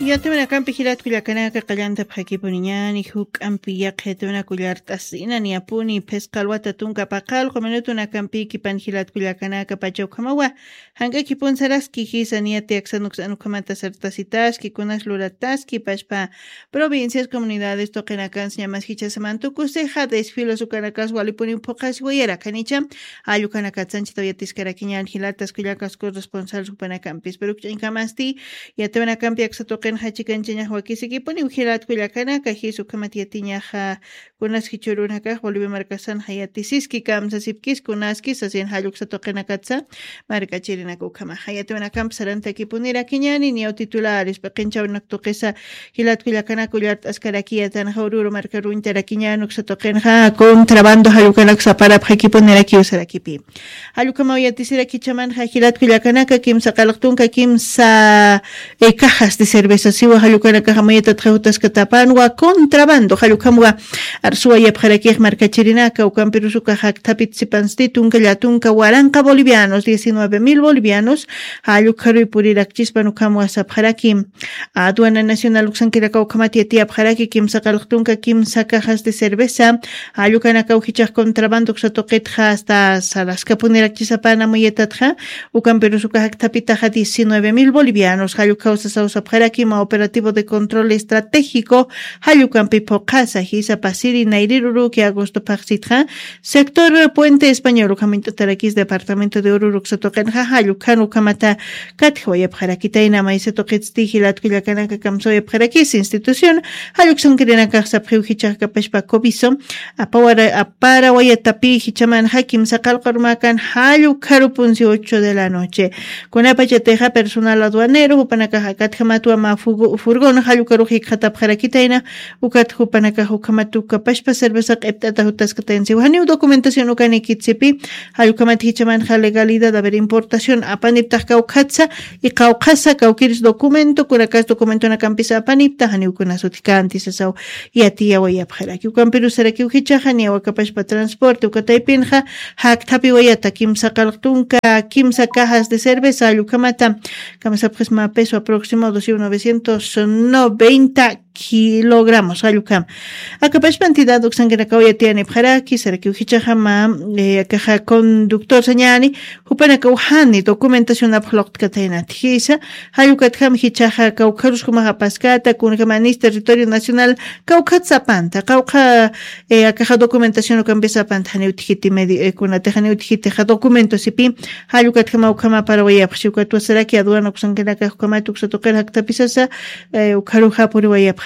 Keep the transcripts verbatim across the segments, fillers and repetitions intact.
Yatiwanakampi jilatkullakanaka qallantapxakipuniñani juk'ampi yaqhitiwanakullart'asina niyapuni phisqa alwata tunka paqallqu minutunakampiki pan jilatkullakanaka pacha ukhamawa. Jank'akipun saraski jisa niyati aksanuksan ukhamata sartasitaski kunas lurataski pachpa provincias comunidades tuqinakansi ñamas jichasamantukusi ja desfiles ukanakas walipuni phuqasiwayara kanicha. Allukanakatsanchita uyatiskarakiñan jilatas kullakas corresponsal supanakampis pero ukch'añkamasti. Yatiwanakampi aksa tuqinxa chikanchañax wakisikipuni jilatkullakanaka jisa ukhamat yatiñaxa. Kunas jichhürunakax bolivia markasanxa yatisiski kamsasipkis kunaski sasin jalluksa tuqinakatsa. Markachirinaka ukhamaxa yatiwanakampi sarantakipunirakïñani niyaw titulares p'iqinchawnak tuqisa. Jilatkullakanaka ullart'askarakiyatan jawruru markaruñtarakiñan uksa tuqinxa contrabando jallukanaksa parapxakipunirakiw sarakipi. Jallukamaw yatisirakichamanxa jilatkullakanaka kimsa qalqtunka kimsa cajas de cerveza siwa jallukanakaxa mayatatxa jutaskatapanwa contrabando jallukamwa. Arsuwayapxarakix markachirinaka ukampirusukaxa akthapit sipansti tunka llatunka waranqa bolivianos diecinueve mil bolivianos. Jallukharuy purirakchispan ukamwa sapxaraki. Aduana nacional uksankiraka ukhamat yatiyapxaraki kimsa qalqtunka kimsa cajas de cerveza. Jallukanakaw jichax contrabando uksa tuqitxa asta saraskapunirakchisapana mayatatxa. Ukampirusukaxa akthapitaxa diecinueve mil bolivianos jallukhaw sasaw sapxaraki ima operativo de control estratégico. Jallukampi phuqhasa jisa pasiri nayriruruki agosto phaxsitxa. Sector puente español ukhamuñt'atarakis departamento de ururu uksa tuqinxa jallukhan ukhamata. Katjawayapxarakitayna maysa tuqitsti jilatkullakanaka kamsawayapxarakis institución. Jalluksankirinakax sapxiw jichax kapashpa coviso. Aparawayatapi jichamanxa kimsa qalqarumakan jallukharupunsi ocho de la noche. Kunapachatixa personal aduanero jupanakaxa katjamatwa ma furgon jallukharux jikxatapxarakitayna. Ukat jupanakax ukhamat ukapashpa cerveza q'ipt'ata jutaskatayansiw janiw documentación ukanikitsipi. Jallukhamat jichamanxa legalidad aver importación apaniptax kawkhatsa. Iqawqhasa kawkiris documento kunakas documentonakampis apanipta janiw kunasutkänti sasaw. Yatiyawayapxaraki ukampirusarakiw jichaxa niyawakapashpa transporte ukataypinxa. Jakthapiwayata kimsa qalqtunka kimsa cajas de cerveza allukhamata. Kamsapxisma peso aproximado siw novecientos noventa kilogramos jallukama. Akapashpa entidad uksankinakaw yatiyanipxaraki sarakiw jichaxama. Akaxa conductor sañani jupanakaw jani documentación apxluqtkataynati jisa. Jallukatjam jichaxa kawkharuskumaxa paskata kunjamanis territorio nacional. Kawkhat sapanta kawkha akaxa documentación ukampis sapanta janiw tijiti medio kunatix janiw tijitixa documento sipi. Jallukatjama ukhama parawayapxchi ukatwasaraki aduana uksankinakax ukhamat uksa tuqir jaktapisasa. Ukharuxa puriwayapxaraki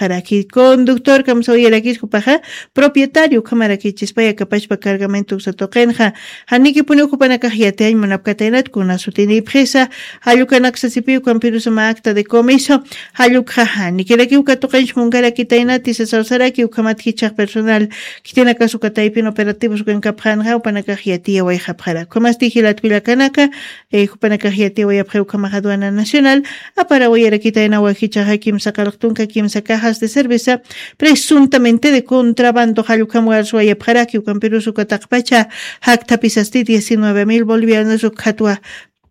conductor kamsawayarakis jupaxa propietario ukhamarakichispay akapashpa cargamento uksa tuqinxa. Janikipuniw jupanakax yatiyañ munapkataynat kuna sutinipxisa. Jallukanak sasipiw ukampirusa ma acta de comiso. Jallukxa janikirakiw katuqinch munkarakitaynati sasawsaraki ukhamat jichax personal. Khitinakas ukataypin operativos ukankapxanxa jupanakax yatiyawayxapxarak ukhamasti jilatkullakanaka. Jupanakax yatiyawayapxi ukhamax aduana nacional. Aparawayarakitaynawa jichaxa kimsa qalqtunka kimsa cajas de cerveza presuntamente de contrabando jallukhamwa arsuwayapxaraki ukampirus ukataqpacha. Jakthapisasti diecinueve mil bolivianos ukhatwa.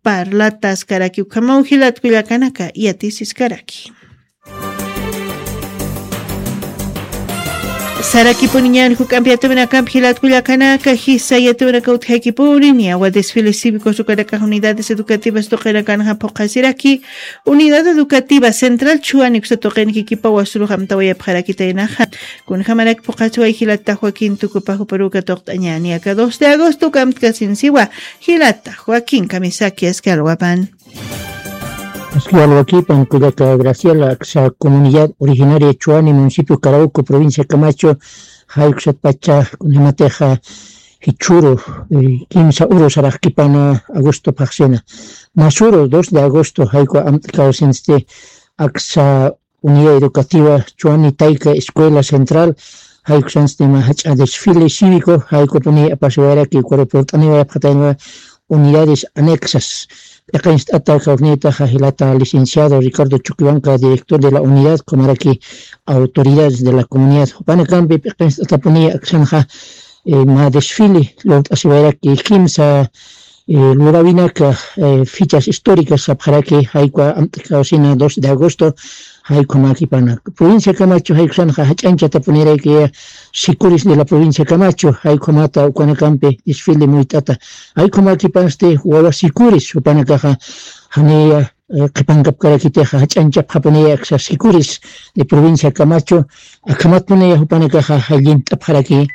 Parlataskaraki ukhamaw jilatkullakanaka yatisiskaraki. Sarakipuniñan juk'ampi yatiwinakampi jilatkullakanaka jisa yatiwinaka utjakipuni niyawa desfiles cívicos ukanakax unidades educativas tuqinakanxa phuqhasiraki. Unidad educativa central chuwani uksa tuqinki kipa wasurux amtawayapxarakitaynaxa. Kunjamarak phuqhasiway jilata joaquín tukupax uparuka tuqt'añani aka dos de agosto ukamtkasinsiwa. Jilata joaquín kamisaki aski alwapan. Aski alwakipan kullaka graciela aksa comunidad originaria chuani municipio carauco provincia camacho. Jaykusatpacha kunjamatixa jichhuru kimsa uru saraqkipana agosto phaxsina. Masuru dos de agosto jayku amt'kawsinsti aksa unidad educativa chuani tayka escuela central. Jaykusansti ima jach'a desfile cívico jaykupuni apasiwayraki ukaru purt'aniwayapxataynawa. Unidades anexas p'iqinst'ata kawsniytaxa jilata licenciado ricardo chuquibanca director de la unidad kumaraki autoridades de la comunidad jupanakampi p'iqinst'atapuni aksanxa. Ma desfile lurt'asiwayraki kimsa lurawinaka fichas históricas sapxaraki jaykwa amt'kawsina dos de agosto. Jaykhamakipanak provincia Camacho jaykhamaxa jach'añchatapunirakiya sikuris de la provincia Camacho jaykhumata ukanakampi desfile muyt'ata. Jaykhamakipansti wawa sikuris jupanakaxa janiya qhipankapkarakitixa jach'añchapxapuniya aksa sikuris de provincia Camacho. Akhamatpuniya jupanakaxa jallint'apxaraki.